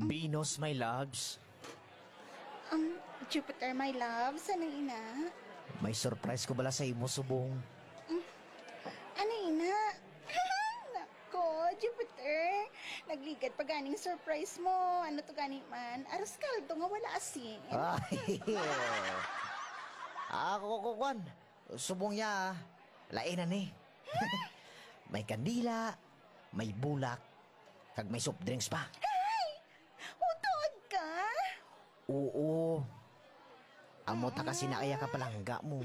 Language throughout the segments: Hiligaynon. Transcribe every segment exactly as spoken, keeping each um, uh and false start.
Venus, my loves. Um, Jupiter, my love, sana ina? May surprise ko bala sa imo, subong. Ano ina? Nako, Jupiter. Nagligad pa ganing surprise mo. Ano to gani man? Arroz caldo nga wala asin. Ay, ako ko kwan. Subong niya, lain na ni. May kandila, may bulak, kag may soft drinks pa. Utuod ka? Oo. Amo ta kasi na iya ka palangga mo.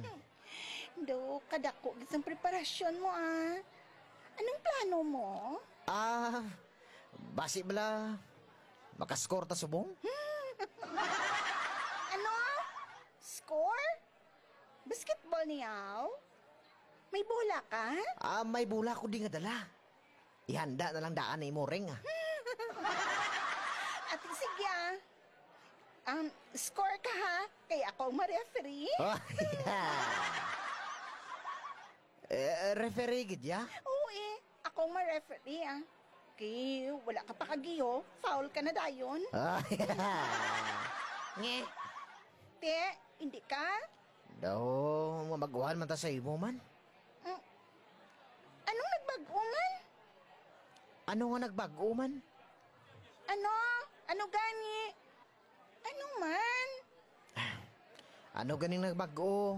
Do, kadako gid sang preparasyon mo, ah. Anong plano mo? Ah, basi bala, makaskor ta subong? Ano? Score? Basketball niyaw? May bola ka? Ah, may bola ko di nga dala. Ihanda na lang daan ni mo ring, ah. Ate, sige, ah. Um, score ka, ha? Kay ako ang ma-referee. Eh, referee gid ya? Oo, eh. Ako ang ma-referee, ah. Kay wala ka pa kagiyo, foul ka na dayon. Nge. Te, hindi ka? Daw, mabaguhan man ta sa imo man. Mm. Anong nagbag-o man? Ano nga nagbag-o man? Ano? Ano gani? Ano man? Ano ganing nagbag-o?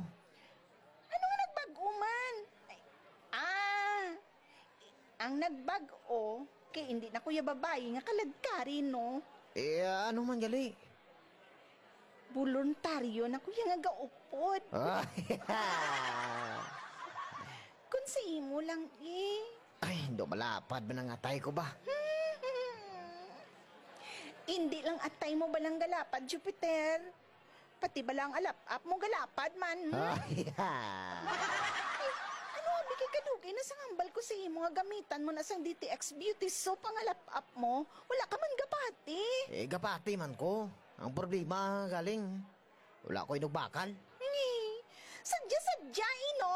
Ano nga nagbag-o man? Ay, ah, ang nagbag-o kay hindi na ko ya babayi nga kalagkari, no? Eh, ano man gali? Boluntaryo na ko ya nga gaupod. Ah, Kung sa imo lang, eh. Ay, do malapad man ang atay ko ba? Hindi lang atay mo ba lang galapad, Jupiter? Pati ba lang alap-ap mo galapad man? Hmm? Ay, Ano, abi kay kadugay na sang hambal ko sa imo nga gamitan mo na sang D T X Beauty Soap ang alap-ap mo. Wala ka man gapati. Eh, gapati man ko. Ang problema, galing, wala ko inugbakal. Ngi, sadya-sadya, ino?